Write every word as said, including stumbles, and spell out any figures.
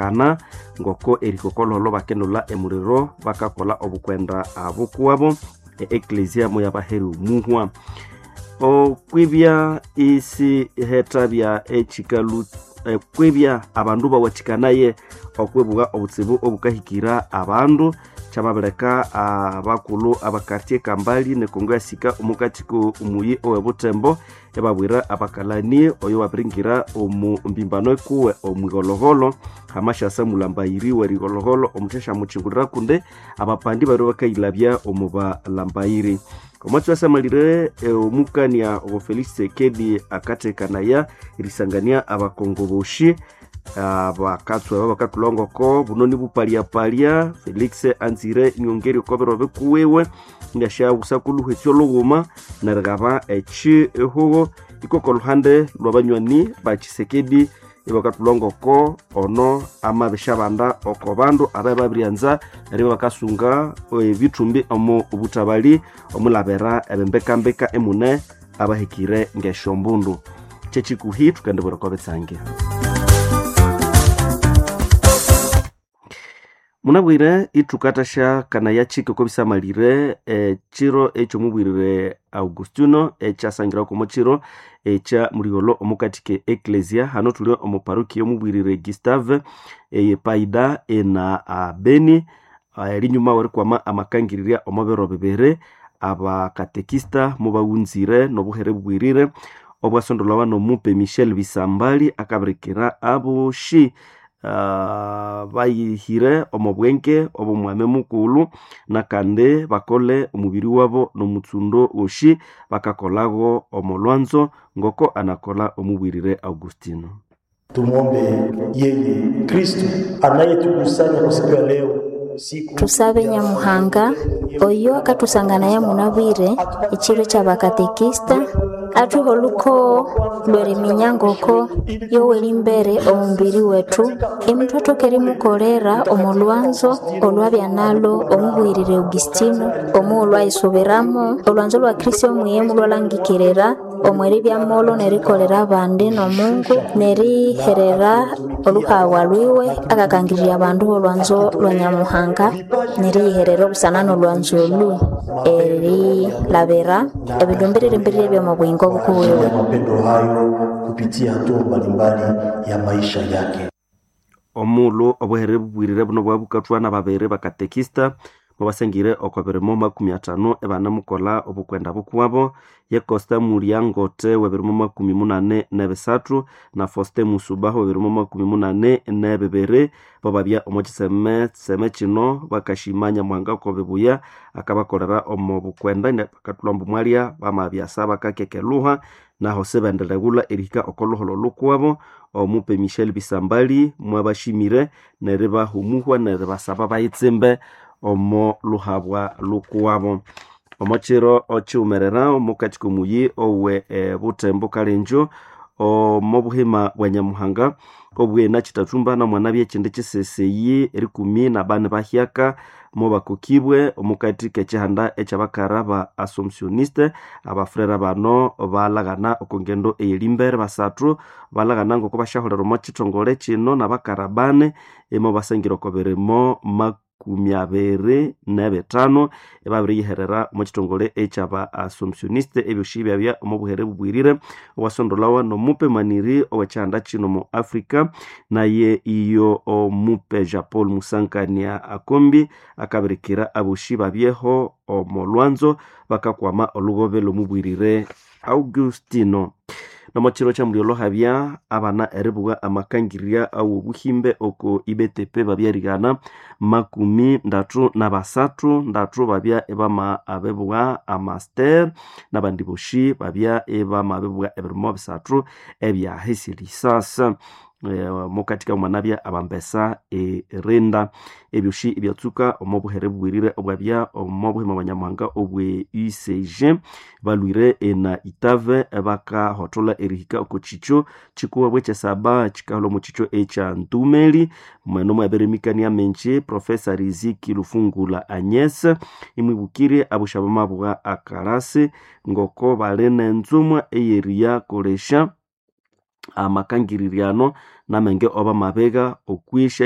Erihagana ngoko erikokololo bakendola emuliro bakakola obukwenda abukuwabo e-eklesia muyabaheri omuhwa. Okwibya isi hethabya ekikalu ekwibya abandu bawathikanaye okwibuga obutsibu obukahikira abandu kyamabireka abakulhu abakartie kambali nekongo yasika omukati omuyi owebutembo ebabwira abakalani oyo wabiringira omu mbimbano ekuwe omwighologholho hamashasa mulambayiri werighologholho omuthesha muchingulira kundi abapandi bari bakayilabya omu balambayiri. Omwatsi wasamalire omukania obo Felix Tshisekedi akathekanaya erisangania abakongo boshi abakatswa aba bakathulhangoko buno nibupalyapalia. Felix anzire inyongera oko biro bikuwiwe ingasyawusa kuluhwesya olhughuma nerigaba ekihugo ikoko olhuhande lwabanywani ba Tshisekedi ibakathulhangoko ono amabishabanda oko bandu ababiryanza eribya bakasunga ebithumbi omu buthabali omulabira ebimbikambika emune abahikire ngesyombundu. Kyekikuhi thukendibwira oko bitsange. Munabwire ithukathasya kanaya kike oko bisamalire ekiro ekyomubwirire Augustino ekyasangiraku omo kiro ekya muligholo omukati ke eklesia. Hano thuli omu parokia omubwirire Gustave eyepaida ena Beni erinyuma werikwama amakangirirya omo biro bibiri abakatekista mubawunzire nobuhere bubwirire obwasondolhawa nomupe Michel Bisambali akabirikira aboshi Uh, bayihire omo bwenge obomwame mukulhu nakandi bakole omubiri wabo nomutsundo woshi bakakolhago omo lwanzo ngoko anakola omubwirire Augustino. Tumwombe yeye Kristo anayetukusanya kwa siku ya leo. Tusabe Nyamuhanga oyo akatusangana munabwire ekiro ky'abakatekista athuhe olukoo lw'eriminya ngoko yoweri imbere omubiri wethu emuthu erimukolera omu lwanzo olwabya nalo omubwirire Augustino omughulhu ayisubiramo olwanzo lwa Kristo omwiye mulwalangikirira omweribya molo nerikolera abandi n'omungu neriherera oluhawa lwiwe akakangirirya abandu b'olwanzo lwa Nyamuhanga neriyiherera obusana n'olwanzo olu erilabira ebindu mbiriri by'omu buyingo bukuwiwe. Mapendo hayo kupitia hatua mbalimbali ya maisha yake. Omughulhu obuhere bubwirire buno bwabukathwa n'ababiri bakatekista mubasangire oko birimo makumi athano ebanamukolha obukwenda bukuwabo ye Costa Muliangote w'ebirimo makumi munane n'ebisathu na Faustin Musubaho w'ebirimo makumi munane n'ebibiri bababya omo kiseme seme kino bakashima Nyamuhanga oko bibuya akabakolera omo bukwenda bakathulha ambu mwalya bamabyasa bakakekeluha naho sibendireghulha erihika oko luholho lukuwabo. Omupe Michel Bisambali mwabashimire neribahumuhwa neribasaba bayitsimbe omo luhabwa lukuwabo. Omo kiro okyiwumerera omukati komuyi owe e, Butembo Kalenjo omo buhima bwa Nyamuhanga obwena kitathumba namwana byekindi kiseseyi erikumi nabani bahyaka mubakokibwe omukati kekihanda ekyabakara ba Assumptioniste. Abafrera bano balaghana oko ngendo eyerimbere basathu balaghana ngoko basyaholera omo kithongole kino nabakara bane imo basangira oko birimo makumi abiri n'ebithano ebabiriyiherera omo kithongole ekyaba Assumptioniste ebyosi byabya omo buhere bubwirire obwasondolhawa n'omupe maniri ow'ekyihanda kino mu Africa naye iyo omupe Jean Paul Musankania Akombi akabirikira abosi babyeho omo lwanzo bakakwama olugobe lw'omubwirire Augustino. Nomo kiro kya habya abana eribuwa amakangirya awobuhimbe oko I B T P babyerigana makumi ndatu na basathu ndatu babya ebama abebuwa amaster nabandi boshi babya ebama abebuwa ebirimo bisathu ebyahisirisasa mukatika mwanabya abambesa erinda ebyoshi ebyatsuka omo buhere bubwirire obwabya omo buhima bwa Nyamuhanga obwe U C G balwire ena itave bakahothola erihika oko kikyo kikuwa bwekyesaba kikaholha omu kikyo ekya Ntumeli mweno mwabirimikania menji Profesa Riziki Lufungula Agnes imwibukire abusha bamabugha akarasi ngoko bali nenzumwa eyeriyakolesya amakangirirano namenge oba mabega okwisha.